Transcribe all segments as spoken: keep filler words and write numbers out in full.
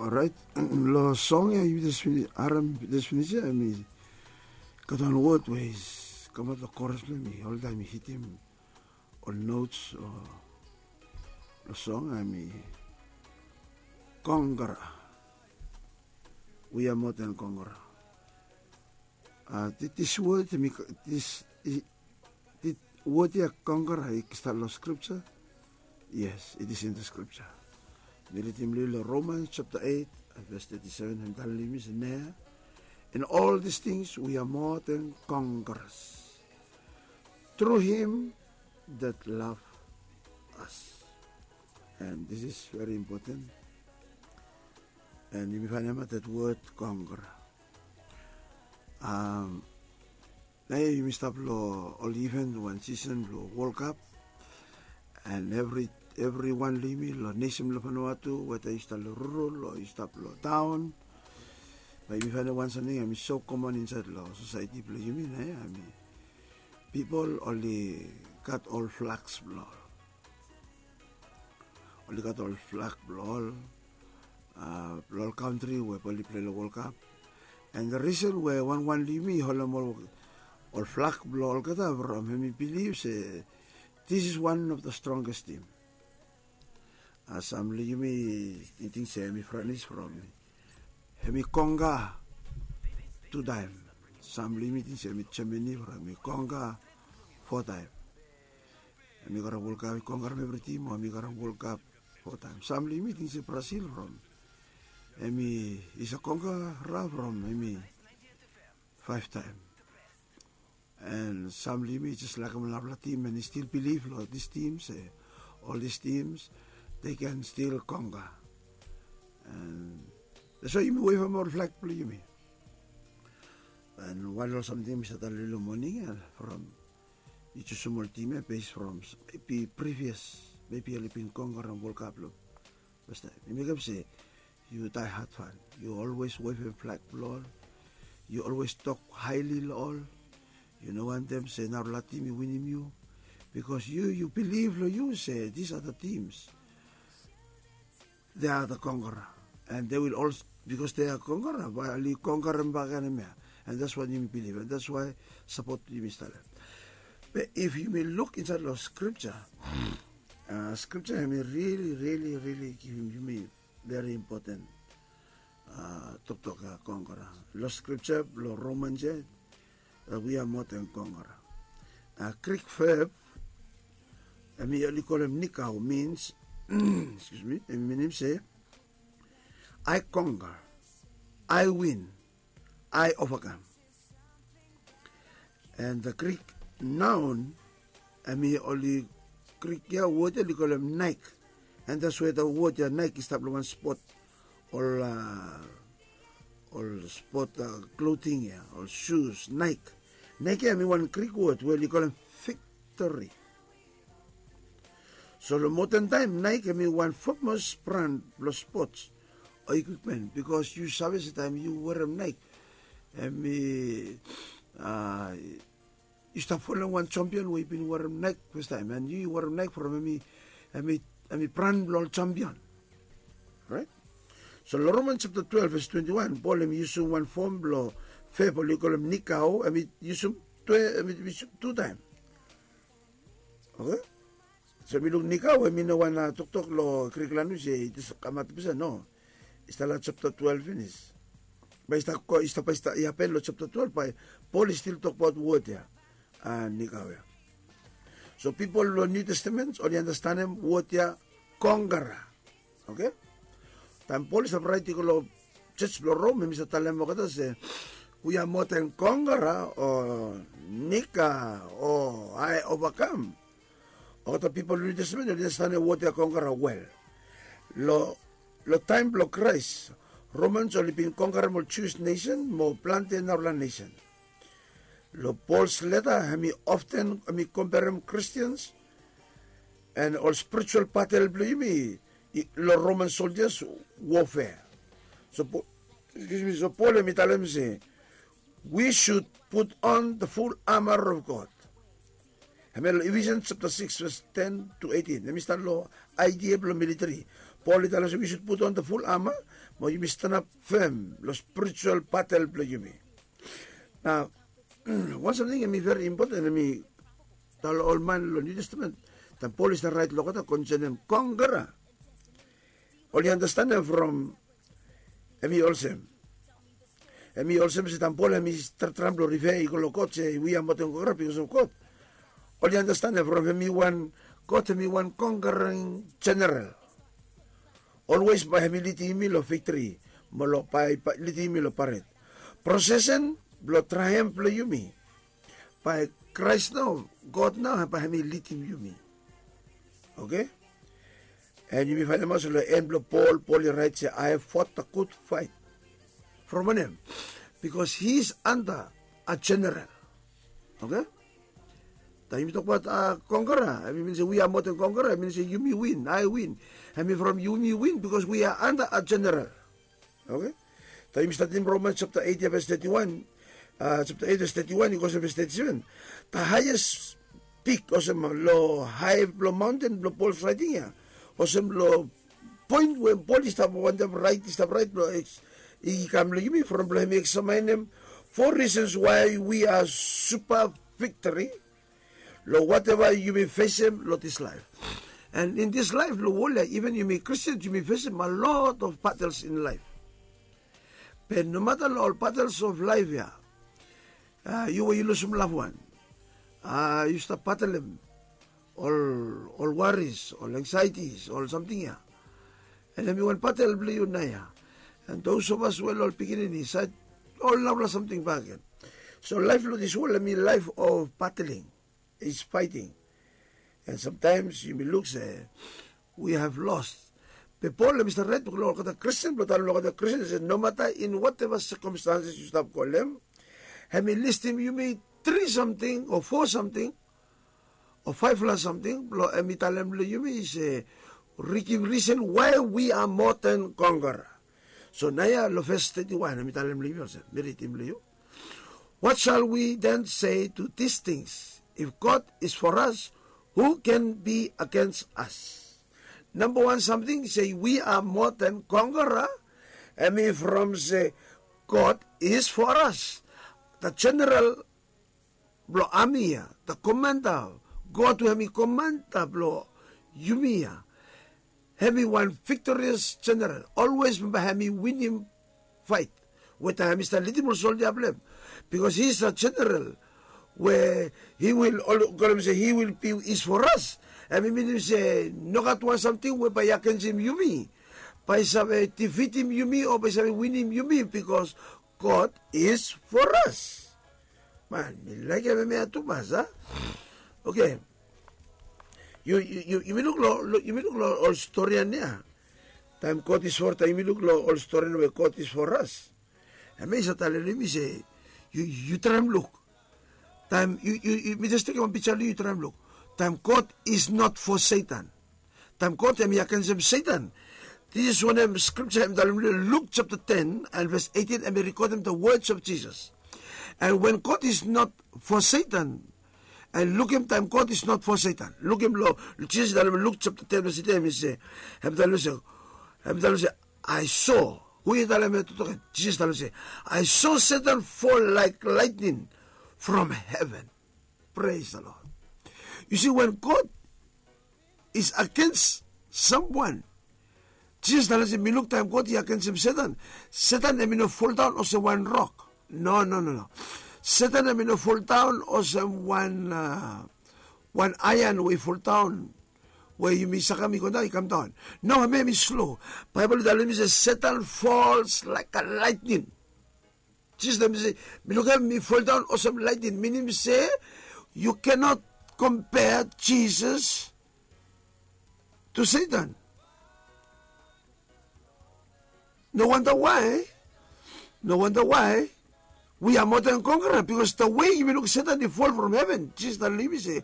Orait, long song ya yu jes finis, harem jes finis ya, hemi gat wan wod we i kamap long koras blong hem, i oltaem i hitim ol notes o long song, hemi kongkara. We are more than kongkara. Dis wod, hemi, dis wod ya kongkara, i stap long skripja? Yes, it is in the scripture. Mi ridim long yu long Romans chapter eight, verse thirty-seven, hemi talem long yumi se, "Nea, in all these things we are more than conquerors through him that love us." And this is very important. And yumi faenem that word conquer. Naoia yumi stap long ol event wan season blong World Cup. And evri evriwan long yumi long nesen blong Vanuatu, weda yu stap long rural o yu stap long taon, bae yumi faenem wan samting hemi so common insaed long society blong yumi, naoia, hemi pipol oli gat ol flags blong ol. Oli gat ol flag blong ol, blong ol kantri we bae oli pilei long World Cup. And the reason we wanwan long yumi i holem ol flag blong olgeta from hemi bilif se this is one of the strongest team. Sam long yumi tingting se hemi France from hemi kongka tu taem. Sam long yumi tingting se hemi Germany from hemi kongka fo taem. Hemi karem World Cup, i kongkarem evri tim o hemi karem World Cup fo taem. Sam long yumi tingting se Brazil from hemi i save kongkara from hemi faef taem. And sam long yumi i jes laekem ol narafala tim, and i stil bilif long dis tim se ol dis tims they can still conquer. And that's why yumi wevem ol flag blong yumi. And wan ol samting mi save talem long yu long moning ya from yu jusum ol tim ya base from maybe previous, maybe oli bin kongkarem World Cup long fastaem. I mekem se yu daehat fan. Yu olwes wevem flag blong ol. Yu olwes tok haeli long ol. Yu no wantem se narafala tim i winim yu. Bikos yu, yu bilif long yu se these are the teams, they are the conqueror. And they will also, bikos they are conqueror, bae oli kongkarem bakegen hemia. And that's what yumi bilif, and that's why sapot yumi stap long hem. Be if yumi luk insaed long skripja, skripja hemi rili, rili, rili givim yumi veri impoten toktok ya kongkara. Long skripja blong Romans ya, we are more than kongkara. Grik veb hemi oli kolem nikao, means, excuse me, hemi minim se I conquer, I win, I overcome. And the Greek noun, hemi oli Greek ya, wod ya oli kolem Nike. And that's where the wod ya Nike i stap long wan spot, ol ol spot clothing ya, ol shoes, Nike. Nike ya hemi wan Greek wod we oli kolem victory. So long moden taem Nike hemi wan famous brand blong sports o equipment, bikos yu save se taem yu werem Nike, hemi yu stap folem wan champion we i bin werem Nike fastaem, and yu werem Nike from hemi, hemi brand blong ol champion. Right? So long Romans chapter twelve verse twenty-one, Pol hemi yusum wan fom blong veb oli kolem nikao, hemi yusum tu, hemi yusum tu taem. Okay? So mi luk nikao hemi no wan toktok long Greek lanwis se i jes kamaot olsem, no. I stap long chapter twelve finis. Bae i stap, i stap, bae i stap, i hapen long chapter twelve bae Pol i stil tokbaot wod ya, nikao ya. So pipol long New Testament oli andastanem wod ya kongkara. Okay? Taem Pol i stap raet i go long jos blong Rom, hemi stap talem olgeta se we are more than kongkara o nikao o I overcome. Olgeta pipol long New Testament oli andastanem wod ya kongkara wel. Long taem blong Kraes, Romans oli bin kongkarem ol Jewish nesen mo plante narafala nesen. Long Pol's leta hemi often hemi komperem Christians and ol spiritual batel blong yumi long Roman soldiers warfare. So Pol hemi talem se we should put on the full armor of God. Hemi long Ephesians chapter six verse ten to eighteen. Hemi stap long idea blong military. Pol i talem se wi sud putum on the full armor mo yumi stanap fem long spiritual batel blong yumi. Nao, wan samting em i veri impoten em i tale ol man long Niu Testamen. Taem Pol i stap raet long olgeta konsenem kongkera, oli andastanem from em i olsem em i olsem se taem Pol em i tratraem blong rifea i go long God se wi a moten kongkera bikos of God. Oli andastanem from em i wan God em i wan kongkeraing jeneral. Olwes bae hem i lidim yumi long viktri mo long bae lidim yumi long paret prosesen blong traem blong yumi. Bae Kraes nao, God nao bae hem i lidim yumi. Oke. An yumi faenemaot se long en blong Pol, Pol i raet se I have fought a good fight. From wanem? Bikos he is under a jeneral. Oke. Taem yumi tokbaot a kongkera em i min se wi a moten kongkera em i min se yumi win, I win. Em i from yumi win bikos wi a under a jeneral. Oke. Taem yumi statem Romans japta eit ya ves teti wan, japta eit ves teti wan i go olsem ves teti seven. The highest peak olsem long hae blong maonten blong Pol raeting ya, olsem long poen we Pol i stap wantem raet, i stap raet blong i kam long yumi from blong hem i eksamaenem four reasons why we are super victory long whatever yumi fesem long this life. And in this life long wol ya, even yumi Christians yumi fesem a lot of battles in life. Be nomata long ol battles of life ya, yu we yu lusum loved one, yu stap battleim ol worries, ol anxieties, ol samting ya. And em i wan battle blong yu naoia. And those of us we long ol pikinini sait, ol narafala samting bakegen. So life long this world em i life of battling, is fighting. And sometimes yumi luk se we have lost. Be Pol em i stap raet blong olgeta Christian blong talem long olgeta Christian se nomata in whatever circumstances yu stap go long hem, hem i listim yumi tri samting o fo samting o faefala samting blong hem i talem long yumi se, rikim risen why we are more than conqueror. So naoia long ves teti wan hem i talem long yumi olsem, mi ridim long yu. What shall we then say to these things? If God is for us, who can be against us? Namba wan samting se we are more than conqueror. Hem i from se God is for us. The general blong ami ya, the komanda, God we hem i komanda blong yumi ya, hem i wan victorious general. Olwes bambae hem i winim faet we taem hem i stap lidim ol soldia blong hem. Bikos he is a general we he will, ol kolem se he will be is for us. Hem i minim se nogat wan samting we bae i agensim yumi bae i save difitim yumi o bae i save winim yumi, bikos God is for us. Man, mi laekem hemia tumas a. Oke. Yumi luk long ol storian ya. Taem God is for, taem yumi luk long ol storian we God is for us, hemia i save talem long yumi se yu traem luk. Taem yu, mi jes tekem wan pija long yu, yu traem luk. Taem God is not for Satan, taem God hem i agensem Satan. This is wanem skripja hem i talem long Luk japta ten and ves eitin, hem i rekodem the words of Jesus. And when God is not for Satan, and lukim, taem God is not for Satan, lukim long Jisas i talem long Luk japta ten ves eitin, hem i se, hem i talem se, hem i talem se, I saw. Hu i talem hem? Toktok hem. Jisas i talem se, I saw Satan fall like lightning from heaven. Praise the Lord. Yu si, when God is against someone, Jisas i talem se, mi luk taem God i agensem Satan, Satan hem i no foldaon olsem wan rok. No, no, no, no. Satan hem i no foldaon olsem wan, wan aean we i foldaon, we yumi sakem i go daon, i kamdaon. No, hemia hem i slo. Baebol i talem yumi se Satan falls like a lightning. Jisas i talem se, mi lukim hem i foldaon olsem lightning. Minim se yu cannot compare Jesus to Satan. No wonder why, no wonder why we are more than conqueror, bikos the way yumi luk Satan i fall from heaven, Jisas i talem long yumi se,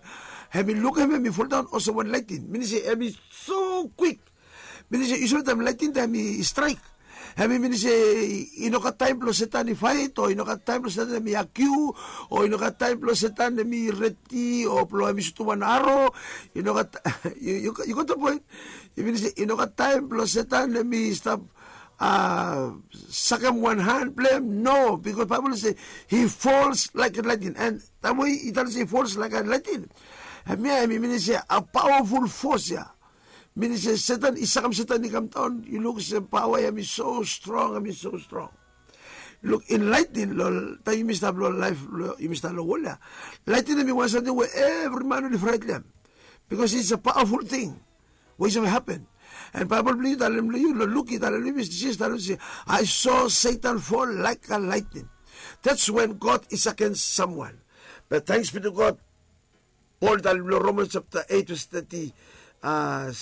hem i lukim hem i foldaon olsem wan lightning. Minim se hem i so kwik. Minim se yu save taem lightning taem i straek, Hem i minim se i no gat taem blong Setan i faet, o i no gat taem blong Setan hem i akiu, o i no gat taem blong Setan hem i redi, o blong hem i sutum wan aro. I no gat, yu gat da poen. I minim se i no gat taem blong Setan hem i stap sakem wan han blong hem. No, bikos Baebol i se he falls like a lightning. And taem we i talem se he falls like a lightning, hemia hem i minim se a pawaful fos ya. Minim se Setan, i sakem Setan i kamdaon, yu luk se pawa ya hem i so strong, hem i so strong. Luk, in lightning, long taem yumi stap long laef, yumi stap long wol ya, lightning hem i wan samting we evri man oli fraet long hem. Bikos it's a pawaful ting we i save hapen. And Baebol blong yu talem long yu, long Luk i talem long yumi, Jisas talem se, I saw Satan fall like a lightning. That's when God is against someone. But thanks be to God, Pol i talem long Romans chapter eight verse thirty, uh,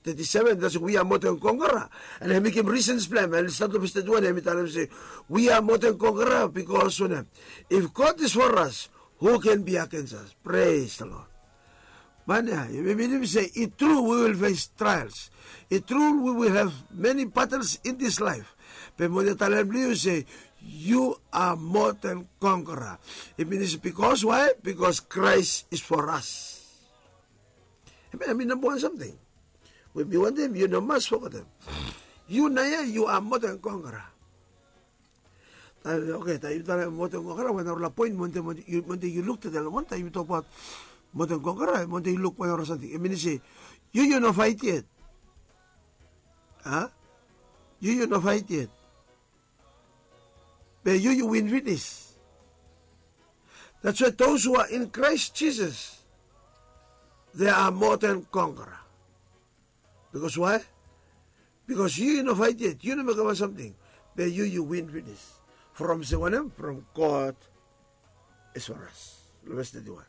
thirty-seven, that's we are more than conqueror. And hem i mekem reasons blong hem, and start long verse thirty-one, hem i talem se, we are more than conqueror because wanem? If God is for us, who can be against us? Praise the Lord. Man ya, yumi minim se i tru we will face trials. I tru we will have many battles in this life. Be mi wantem talem long yu se, you are more than conqueror. I minim se, bikos why? Bikos Christ is for us. Hemia hem i namba wan samting we mi wantem yu no mas fogetem. Yu naoia yu are more than conqueror. Taem, oke, taem yu talem more than conqueror, wan narafala poen mi wantem yu luk tede long moning, taem yu tokbaot more than conqueror, mi wantem yu luk wan narafala samting. Hem i minim se yu yu no faet yet. A? Yu yu no faet yet. Be yu yu win finis. That's why those who are in Christ Jesus, they are more than conqueror. Bikos why? Bikos yu yu no faet yet, yu no mekem wan samting. Be yu yu win finis. From se wanem? From God is for us. Long ves thirty-one.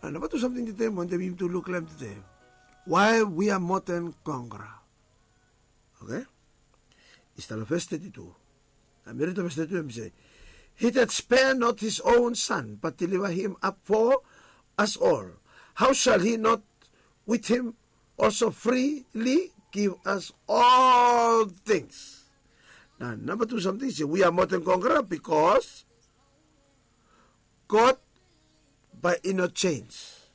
Nao namba tu samting tede mi wantem yumi tu luk long hem tede. Why we are more than conqueror. Oke? I stap long ves thirty-two. Nao mi ridim ves thirty-two, hem i se, he that spare not his own son, but deliver him up for us all, how shall he not with him also freely give us all things? Nao namba tu samting i se, we are more than conqueror bikos God bae i no jenis.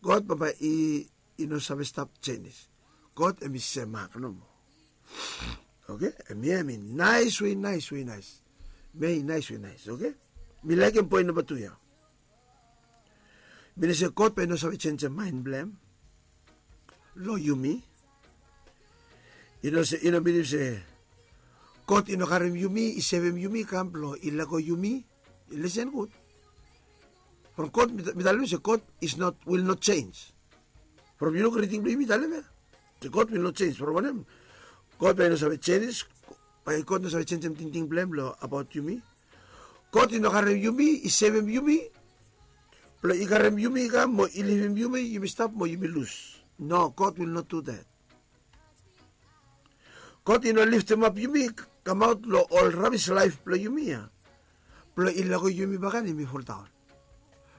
God bambae i no save stap jenis. God hem i semak nomo. Oke, hemia hem i naes we i naes we i naes. Hemia i naes we i naes, oke? Mi laekem poen namba tu ya. Minim se God bae i no save jenisim maen blong hem long yumi. I no se, i no minim se God i no karem yumi, i sevem yumi, kam blong i lego yumi. Lisen gud. From God, mi talem se God is not, will not change. From yu luk riding blong yumi talem ya se God will not change. From wanem? God bae i no save jenis. Bae God no save jenisim tingting blong hem long abaot yumi. God i no karem yumi, i sevem yumi blong i karem yumi i kam mo i livim yumi, yumi stap mo yumi lus. No, God will not do that. God i no liftimap yumi kamaot long ol rabis laef blong yumi ya blong i lego yumi bakegen yumi foldaon.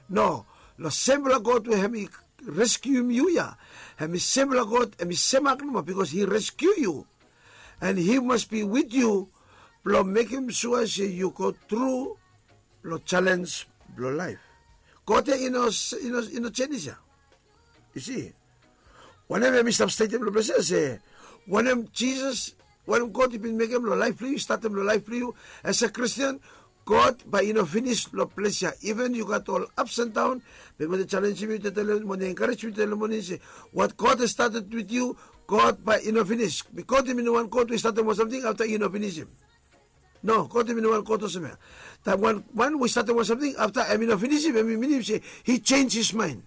No, long sem blong God we hem i reskium yu ya, hem i sem blong God, hem i semak nomo, bikos hi reskiu yu. And hi mas bi wit yu blong mekem sua se yu go tru long jalenj blong laef. God ya i no, i no jenis ya. Yu si, wanem hem i stap stetem long ples ya se, wanem Jisas, wanem God i bin mekem long laef blong yu, statem long laef blong yu as a Christian, God bae i no finis long ples ya. Iven yu gat ol ups and down, be mi wantem jalenjem yu tede, mi wantem enkarejem yu tede long moning se, what God has started with you, God bae i no finis. Be God hem i no wan God we i statem wan samting afta i no finisim. No, God hem i no wan God olsem ya. Taem wan man we i statem wan samting afta hem i no finisim, hem i minim se hi jenis his maen.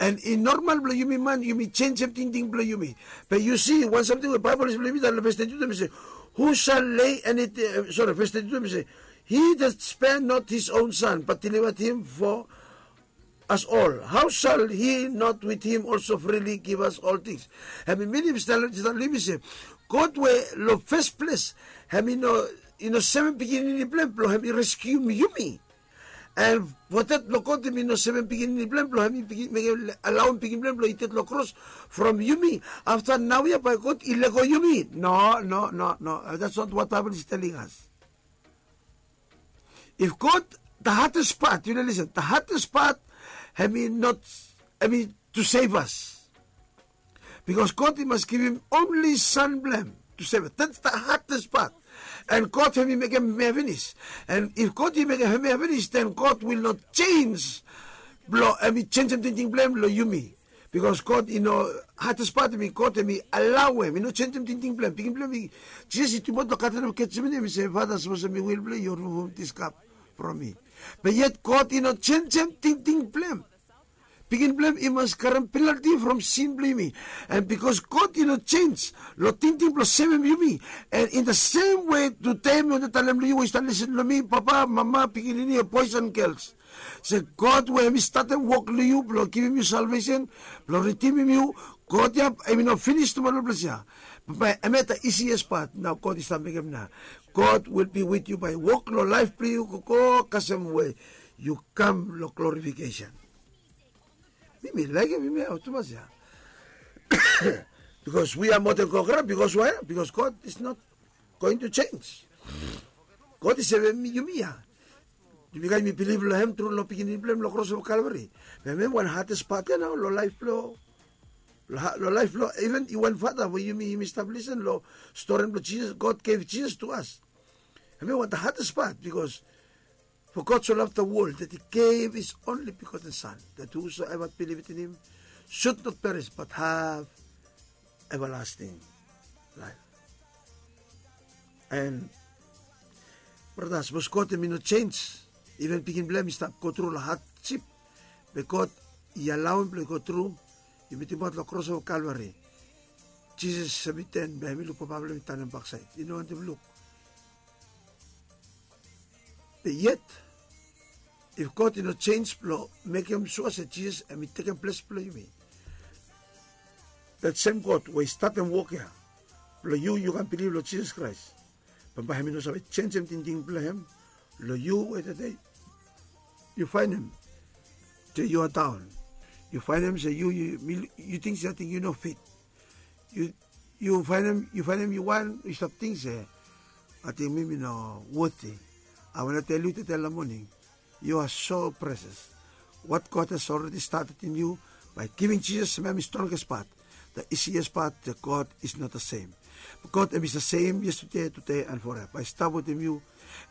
And i normal blong yumi man, yumi jenisim tingting blong yumi. Be yu si wan samting we Baebol i save blong yumi talem long ves thirty-two, hem i se, who shall lay anything, sori, ves thirty-two hem i se, he that spare not his own son but delivered him for us all, how shall he not with him also freely give us all things? Hem i minim se, talem long yumi se, God we long fes ples hem i no, i no sevem pikinini blong hem blong hem i reskium yumi. And for that, lo God hemi no sevem pikinini blong hem, blong hemi mekem alaoem pikinini blong hem blong i ded lo kros from yumi. Afta naoia bae God i lego yumi. No, no, no, no. That's not what Bible is telling us. If God, the hardest part, you know, listen, the hardest part, hemi not, hemi to save us. Because God i mas givim only Son blong hem to save us. That's the hardest part. And God hemi mekem hemia finis. And if God i mekem hemia finis, then God will not change. Blong hemi jenisim tingting blong hem lo yumi. Because God i no, hardest part hemi God hemi alaoem, i no jenisim tingting blong hem. Pikinini blong hem, Jisas i tinbaot lo Garden of Gethsemane, hemi se, Father, sapos hemi will blong yu, rimuvum this cup from me. Be yet God i no jenisim tingting blong hem. Pikinini blong hem i mas karem penalti from sin blong yumi. And because God i no jenis lo tingting blong sevem yumi. And in the same way, tede mi wantem talem lo yu we yu stap lisin lo mi, papa, mama, pikinini, boys and girls. Se God we hemi statem wok lo yu blong givim yu salvesen, blong ridimim yu, God ya hemi no finis tumas lo ples ya. Be hemia the easiest part nao God i stap mekem nao. God will be with you bae wok lo laef blong yu gogo kasem we yu kam lo glorification. Mi mi laekem hemia tumas ya. Because we are more than conqueror, because why? Because God is not going to change. God i sevem yumi ya. Yumi gat mi bilif lo hem tru lo pikinini blong hem lo kros of Calvary. Be hemia wan hardest part ya nao lo laef blong, lo laef blong even yu wan fata we yumi, yumi stap lisin lo stori blong Jisas, God gave Jesus to us. Hemia wan the hardest part, because for God so loved the world that he gave his only begotten Son, that whosoever believeth in him should not perish but have everlasting life. And brata, sapos God hemi no jenis, even pikinini blong hem i stap go tru lo hardship, be God i alaoem blong i go tru. Yumi tinbaot lo kros of Calvary, Jisas hemi ten, be hemi luk papa blong hem i tanem baksaed, i no wantem luk. Be yet, if God i no jenis blong mekem sua se Jisas hemi tekem ples blong yumi, that same God we i statem wok ya blong yu, yu kam bilif lo Jisas Kraes, bambae hemi no save jenisim tingting blong hem lo yu we tede yu faenem se yu are down. Yu faenem se yu, yu ting se ating yu no fit. Yu, yu faenem, yu faenem yu wan, yu stap ting se ating mi mi no worthy. I wanna tell yu tede lo moning, you are so precious. What God has already started in you by giving Jesus, hemia hemi strongest part. The easiest part, that God is not the same. God hemi the same yesterday, today and forever. Bae i stap wetem yu,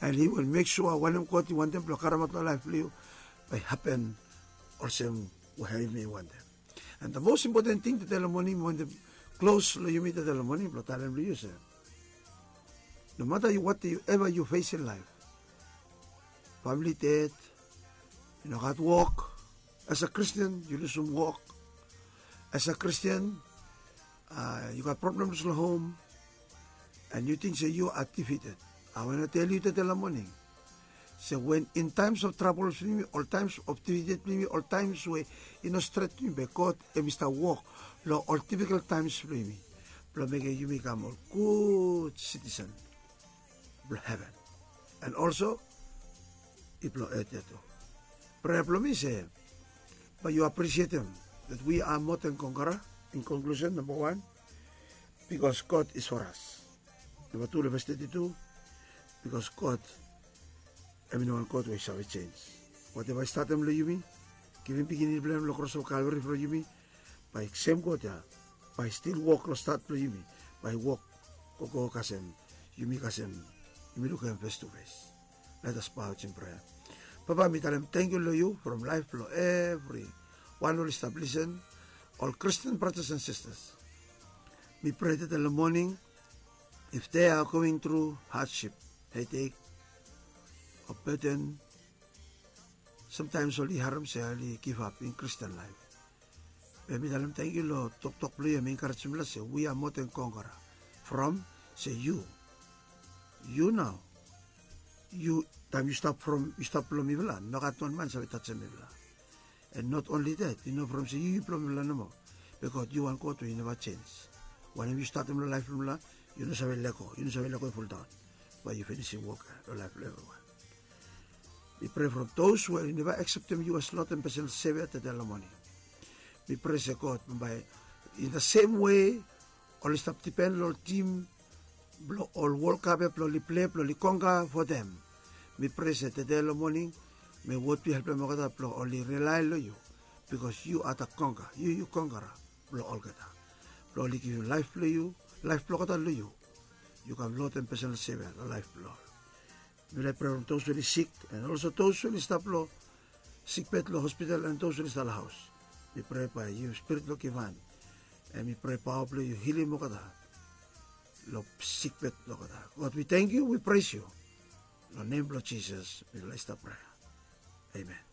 and he will make sure wanem God i wantem blong karemaot lo laef blong yu bae i hapen olsem we hemi wantem. And the most important thing tede lo moning, mi wantem klos lo yumi tede lo moning blong talem lo yu se, no matter yu, whatever yu face in life, family dead, yu no gat wok, as a Christian yu lusum wok, as a Christian yu gat problems lo hom, and yu ting se yu are defeated. I wanna tell yu tede lo moning se wen in times of troubles blong yumi, ol times of defeated blong yumi, ol times we i no stret blong yumi, be God hemi stap wok lo ol difficult times blong yumi blong mekem yumi kam ol gud citizen blong heven, and also i blong earth ya tu. Prea blong mi se bae yu aprisietem that we are more than conqueror. In conclusion, namba wan, because God is for us. Namba tu, lo ves teti tu, because God hemi no wan God we i save jenis. Whatever i statem lo yumi, givim pikinini blong hem lo kros of Calvary fo yumi, bae sem God ya bae i stil wok lo stat blong yumi, bae i wok gogo kasem yumi, kasem yumi lukim hem face to face. Let us bow in prayer. Papa, mi talem tangkiu lo yu from laef blo evriwan oli stap lisen, ol Christian brothers and sisters. Mi prea tede lo moning, if they are going through hardship, headache, or burden, sometimes oli harem se oli give up in Christian life. Be mi talem tangkiu lo toktok blo yu, hemi encouragem mifala se we are more than conqueror. From se yu, yu nao, yu, taem yu stap from, yu stap blo mifala, nogat wan man save tajem mifala. And not only that, i no from se yu, yu blo mifala nomo. Be God, yu wan God we yu neva jenis. Wanem yu statem lo laef blo mifala, yu no save lego, yu no save lego fuldaon. Bae yu finisim wok lo laef blo evriwan. Mi prea from dos we oli neva akseptem yu as lod and pesonal sevia tede long moning. Mi prea se god bambae in the sem we oli stap dipen long tim blong ol wolkap ya blong oli prea blong oli konga fo dem. Mi prea se tede long moning mi wod yu helpem olgeta blong oli rilae long yu, bikos yu a da konga yu yu kongara blong olgeta, blong oli givim laef blong yu, laef blong olgeta long yu. Yu kam lod and pesonal sevia long laef blong ol. Mi laik prea long dos we oli sik and olso dos we oli stap long sikbet long hospital and dos we oli stap long haos. Mi prea bae yu spirit blong givhan and mi prea paoa blong yu hilim olgeta long sikbet blong olgeta. God wi tangkiu wi pres yu. Long nem blong jisas mi laik stap prea. Amen.